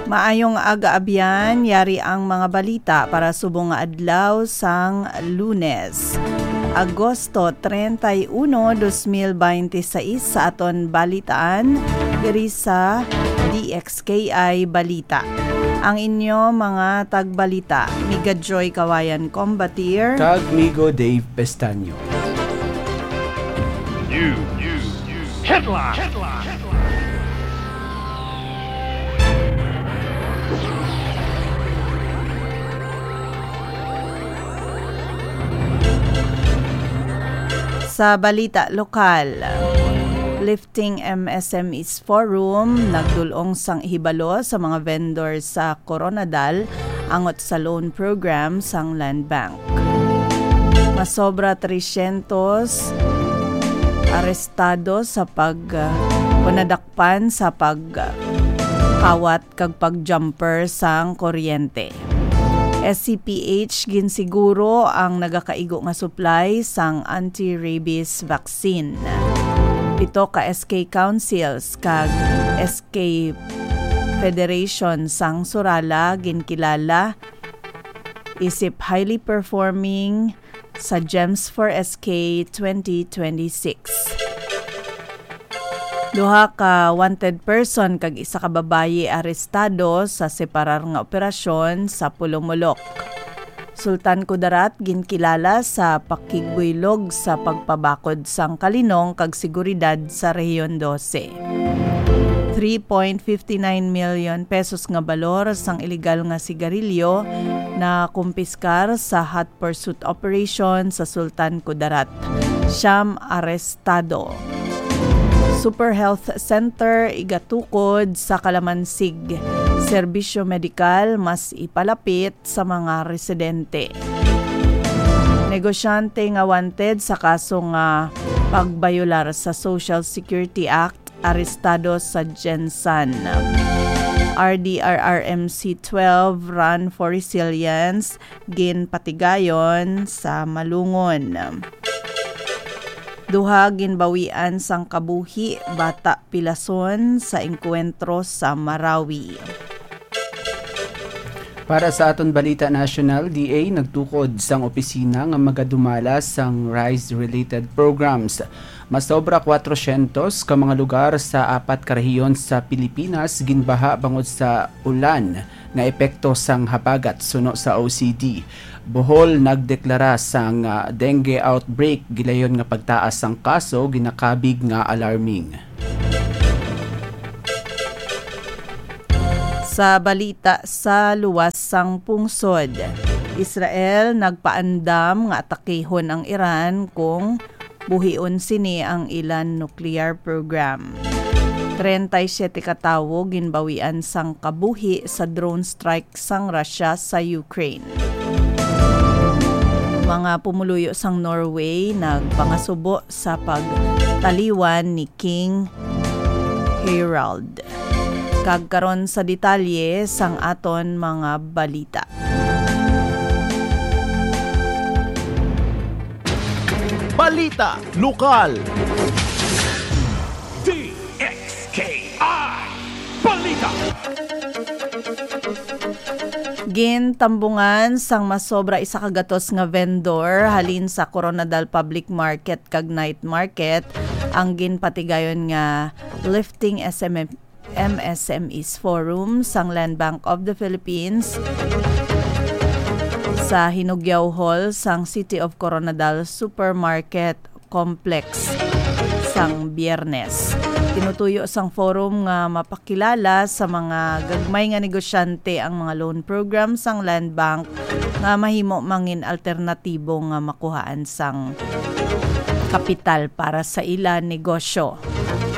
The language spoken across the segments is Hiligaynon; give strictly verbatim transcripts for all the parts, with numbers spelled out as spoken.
Maayong aga, abyan. Yari ang mga balita para subong nga adlaw sang Lunes, Agosto treinta y uno, dos mil veintiséis, sa aton balitaan diri sa D X K I Balita. Ang inyo mga tagbalita, Miga Joy Kawayan Combatir. Kag Migo Dave Pestaño. News. News. Headline. Sa balita lokal, Lifting M S M Es Forum nagdul-ong sang hibalo sa mga vendor sa Koronadal angot sa loan program sang Land Bank. Masobra tresyentos arestado sa pag, o nadakpan sa pagkawat kag pag-jumper sang kuryente. S C P H ginsiguro ang nagakaigo nga supply sang anti-rabies vaccine. Pito ka S K Councils kag S K Federation sang Surala ginkilala isip highly performing sa Gems for S K twenty twenty-six. Duha ka wanted person kag isa ka babayi arestado sa separar nga operasyon sa Pulumulok. Sultan Kudarat ginkilala sa pakigbuylog sa pagpabakod sang kalinong kag seguridad sa Rehiyon dose. Three point fifty nine million pesos nga balor sang iligal nga sigarilyo na kumpiskar sa hot pursuit operation sa Sultan Kudarat. Siyam arestado. Super Health Center igatukod sa Kalamansig. Serbisyo medikal mas ipalapit sa mga residente. Negosyante nga wanted sa kaso nga pagbayolar sa Social Security Act arestado sa Gensan. R D R R M C twelve Run for Resilience ginpatigayon sa Malungon. Duha ginbawian sang kabuhi, bata pilason sa engkwentro sa Marawi. Para sa aton balita nasyonal, D A nagtukod sang opisina nga magadumala sang rice-related programs. Masobra kwatrosyentos ka mga lugar sa apat ka rehiyon sa Pilipinas ginbaha bangod sa ulan nga epekto sang habagat, suno sa O C D. Bohol nagdeklara sang, ah, dengue outbreak, gilayon nga pagtaas sang kaso ginakabig nga alarming. Sa balita sa luwas sang pungsod, Israel nagpaandam nga atakihon ang Iran kung buhion sini ang ila nuclear program. Treinta y siete ka tawo ginbawian sang kabuhi sa drone strike sang Russia sa Ukraine. Mga pumuluyo sang Norway nagpangasubo sa pagtaliwan ni King Harald. Kag karon sa detalye sang aton mga balita. Balita lokal. D X K I Balita. Gintambungan sang masobra isa ka gatos nga vendor halin sa Koronadal Public Market kag Night Market ang ginpatigayon nga Lifting S M M M S M Es Forum sang Land Bank of the Philippines sa Hinugyaw Hall sang City of Coronadal Supermarket Complex sang Biyernes. Tinutuyo sang forum nga mapakilala sa mga gagmay nga negosyante ang mga loan program sang Land Bank nga mahimo mangin alternatibo nga makuhaan sang kapital para sa ila negosyo.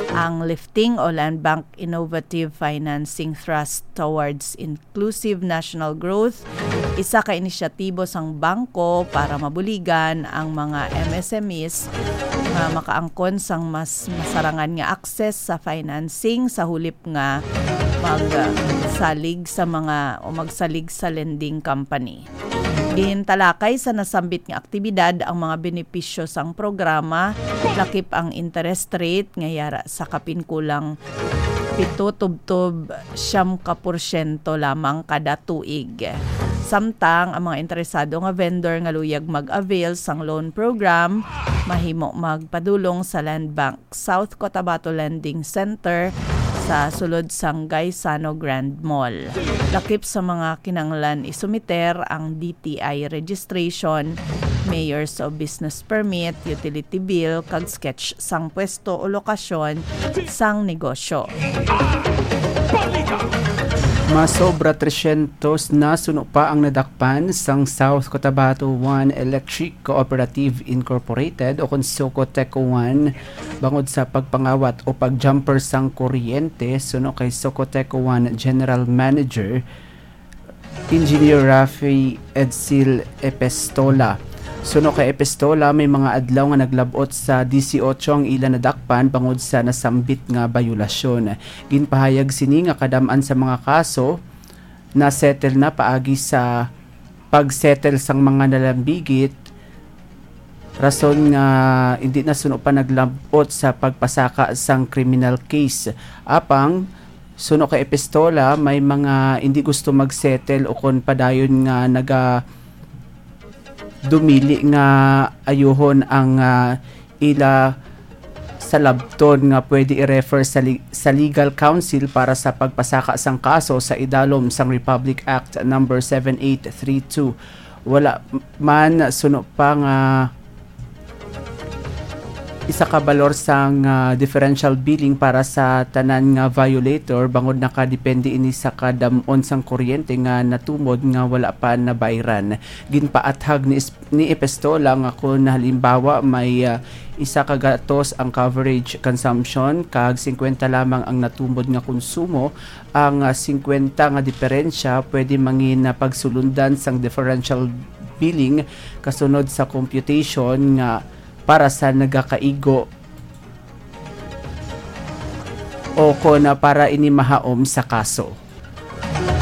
Ang Lifting o Land Bank Innovative Financing Thrust Towards Inclusive National Growth, isa ka inisyatibo sang bangko para mabuligan ang mga M S M Es nga makaangkon sang mas masarangan nga access sa financing sa hulip nga magsalig sa mga o magsalig sa lending company. Gintalakay sa nasambit nga aktibidad ang mga benepisyo sang programa, lakip ang interest rate nga yara sa kapin kulang pito tubtob siyam ka porsyento lamang kada tuig. Samtang ang mga interesado nga vendor nga luyag mag-avail sang loan program mahimo magpadulong sa Land Bank South Cotabato Lending Center sa sulod sang Gaisano Grand Mall. Lakip sa mga kinahanglan isumiter ang D T I registration, Mayor's o Business Permit, Utility Bill, kag sketch sang pwesto o lokasyon sang negosyo. Masobra tresyentos na suno pa ang nadakpan sang South Cotabato One Electric Cooperative Incorporated o kon Socoteco One bangod sa pagpangawat o pagjumper sang kuryente, suno kay Socoteco One General Manager Engineer Rafi Edsel Epistola. Suno kay Epistola, may mga adlaw nga naglab-ot sa disiotso ang ila nadakpan bangod sa nasambit nga bayulasyon. Ginpahayag sini nga kadam-an sa mga kaso na settle na paagi sa pag-settle sang mga nalambigit, rason nga hindi na suno pa naglab-ot sa pagpasaka sang criminal case. Apang suno kay Epistola, may mga hindi gusto mag-settle o kon padayon nga naga dumili nga ayuhon ang, ah, ila sa labton nga pwede i-refer sa, li- sa legal counsel para sa pagpasaka sang kaso sa idalom sang Republic Act number seven eight three two. Wala man suno pa nga isa ka balor sang, ah, differential billing para sa tanan nga violator, bangod nakadepende ini sa kadam-on sang kuryente nga natumod nga wala pa nabayran. Ginpaathag ni, ni Epistola nga kon halimbawa may, ah, isa ka gatos ang coverage consumption kag singkwenta lamang ang natumod nga konsumo, ang, ah, singkwenta nga diferensya pwede mangin, ah, pagsulundan sang differential billing kasunod sa computation nga para sa nagakaigo o kon, ah, para ini mahaom sa kaso.